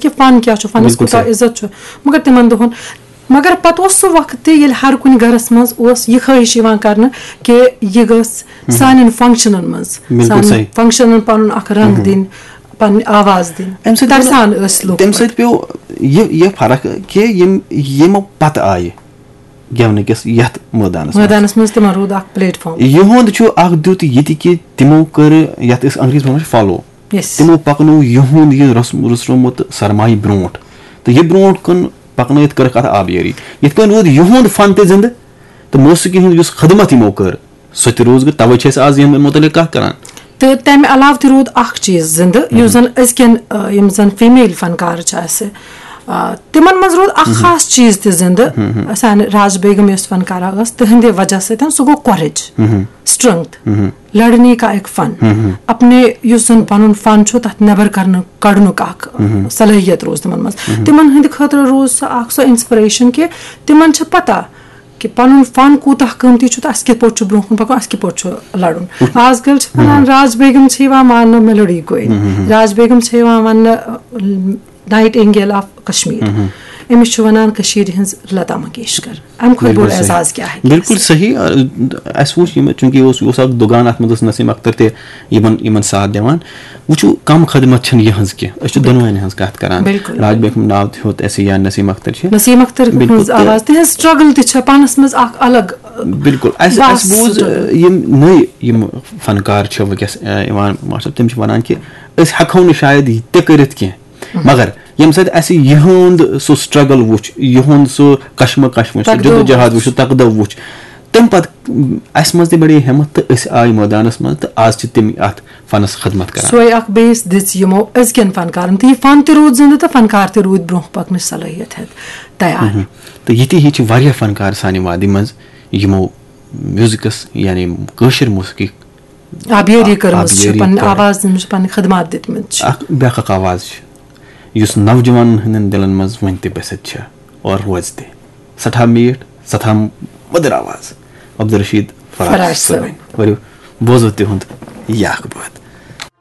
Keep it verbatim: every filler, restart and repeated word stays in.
کہِ فن کیٛاہ چھُ، فنس کوٗتاہ عزت چھُ۔ مگر تِمن دۄہن، مگر پتہٕ اوس سُہ وقت تہِ، ییٚلہِ ہر کُنہِ گرس منٛز اوس یہِ خٲہِش یِوان کرنہٕ کہِ یہِ گٔژھ سانٮ۪ن فنکشنن منٛز، سانٮ۪ن فنکشنن پنُن اکھ رنگ دِنۍ، پنٕنۍ آواز دِنۍ۔ ترسان ٲسۍ لُکھ تَمہِ پتہٕ۔ سۭتۍ پیوٚو یہِ یہِ فرق کہِ یِم یِمو پتہٕ آیہِ گٮ۪ونہٕ کِس یتھ مٲدانس منٛز۔ مٲدانس منٛز تِمن روٗد اکھ پلیٹ فارم۔ یِہُنٛد چھُ اکھ دیُت یہِ تہِ کہِ تِمو کٔر یتھ أسۍ انگریزی پٲٹھۍ ونان چھِ فالو۔ Yes۔ تِمو پکنوو یِہُنٛد یہِ رس-، رُسرومُت سرمایہِ برونٛٹھ۔ تہٕ یہِ برونٛٹھ کُن پکنٲیِتھ کٔرٕکھ اتھ آبیٲری۔ یِتھ کٔنۍ روٗد یِہُنٛد فن تہِ زِندٕ تہٕ موسیقی ہُنٛد یُس خدمت یِمو کٔر، سۄ تہِ روٗز۔ توے چھِ أسۍ آز یِمن متعلق کتھ کران۔ تہٕ تمہِ علاوٕ تہِ روٗد اکھ چیٖز زِندٕ، یُس زن أزکٮ۪ن، آ، یِم زن فیمیل فنکار چھِ اسہِ، آ، تِمن منٛز روٗد اکھ خاص چیٖز تہِ زِندٕ۔ سانہِ راج بیگم یۄس فنکارہ ٲس، تِہنٛدِ وجہ سۭتۍ سُہ گوٚو کورج، strength، لڑنے کا ایک فن۔ اپنے یُس زن پنُن فن چھُ، تتھ نٮ۪بر کرنہٕ، کڑنُک اکھ صلٲحیت روٗز تِمن منٛز۔ تِمن ہٕنٛدِ خٲطرٕ روٗز سۄ اکھ سۄ انسپریشن کہِ تِمن چھِ پتہ کہِ پنُن فن کوٗتاہ قۭمتی چھُ تہٕ اسہِ کِتھ پٲٹھۍ چھُ برونٛہہ کُن پکُن، اسہِ کِتھ پٲٹھۍ چھُ لڑُن۔ آز کل چھِ ونان راج بیگم چھِ یِوان ماننہٕ میلوڈی کوئن، راج بیگم چھِ یِوان وننہٕ نائٹ اینجل آف کشمیر۔ أمِس چھِ ونان کٔشیٖرِ ہٕنٛز لتا منگیشکر۔ امہِ کھۄتہٕ بوٚڑ اعزاز کیٛاہ ہیٚکہِ ٲسِتھ؟ بِلکُل صحیح۔ آ، اسہِ وُچھ یِم، چوٗنٛکہِ یہِ اوس، یہِ اوس اکھ دُگان، اتھ منٛز ٲس نسیم اختر تہِ یِمن، یِمن ساتھ دِوان۔ وٕچھِو، کم خدمت چھَنہٕ یِہٕنٛز کینٛہہ۔ أسۍ چھِ دۄنوٕنی ہٕنٛز کتھ کران۔ بِلکُل۔ راج بیگم ناو تہِ ہیوٚت اَسہِ یا نسیم اختر چھِ۔ نسیم اختر ہٕنٛز آواز، تِہٕنٛز struggle تہِ چھےٚ پانس منٛز اکھ الگ۔ بِلکُل۔ اَسہِ، اَسہِ بوٗز، struggle۔ یِم نٔے یِم فنکار چھِ وٕنکیٚس، آ، یِوان، ماشاء اللہ، تِم چھِ ونان کہِ أسۍ ہٮ۪کو نہٕ شاید یہِ تہِ کٔرِتھ کینٛہہ، مگر ییٚمہِ سۭتۍ اَسہِ یِہُنٛد سُہ struggle وُچھ، یِہُنٛد سُہ کشمکش وُچھ، سُہ تکدو جدوجہد وُچھ۔ وُچھ، سُہ تکدو وُچھ، تَمہِ پتہٕ اَسہِ منٛز تہِ بڑے ہمت تہٕ أسۍ آے مٲدانس منٛز تہٕ آز چھِ تِم اَتھ فنس خدمت کران۔ سۄے اکھ base دِژ یِمو أزکٮ۪ن فنکارن تہٕ یہِ فن تہِ روٗد زِندٕ تہٕ فنکار تہِ روٗدۍ برونٛہہ پکنٕچ صلٲحیت ہٮ۪تھ تیار۔ تہٕ یِتھی ہی چھِ واریاہ فنکار سانہِ وادی منٛز یِمو میوٗزکس، یعنی کٲشِر موسیقی آبیٲری کٔرمٕژ چھِ، آبیٲری پنٕنۍ کٔر۔ آواز دِنہٕ چھِ، پنٕنۍ خدمات دِتمٕتۍ چھِ۔ اکھ بیٛاکھ اکھ آواز چھِ، یُس نوجوانن ہٕنٛدٮ۪ن دِلن منٛز وُنہِ تہِ بٔسِتھ چھِ اور روزِ تہِ۔ سٮ۪ٹھاہ میٖٹھ، سٮ۪ٹھاہ مٔدٕر آواز۔ عبدالرشید فراز فراز صٲب۔ صٲب۔ ؤلِو، بوزو تِہُنٛد یہِ اکھ بٲتھ۔